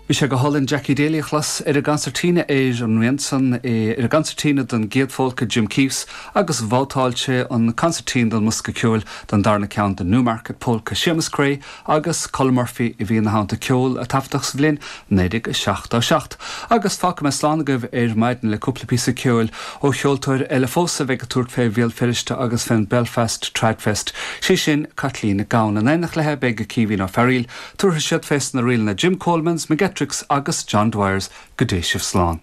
Bhí sé go hálainn Jackie Daly a chlos ar an gconsairtín ar an rian san, é ar an gconsairtín don gcéad phólca Jim Keefe's agus bhabhtáil sé an consairtín don mbosca ceoil don darna ceann The Newmarket Polka. Séamus Creagh agus Colm Murphy a bhí ina theannta, ceol a taifeadadh sa bhliain 1977. Agus fágfaidh mé slán agaibh ar maidin le cúpla píosa ceoil ó cheoltóir eile fós a bheidh ag tabhairt fé Bhéal Feirste agus fén Belfast Tradfest, sé sin Caitlín Nic Gabhann. In éineacht léi beidh Caoimhín Ó Fearghaíl. Tabharfaidh siad fés na ríleanna Jim Coleman's, McGettrick's agus John Dwyer's. Go dté sibh slán.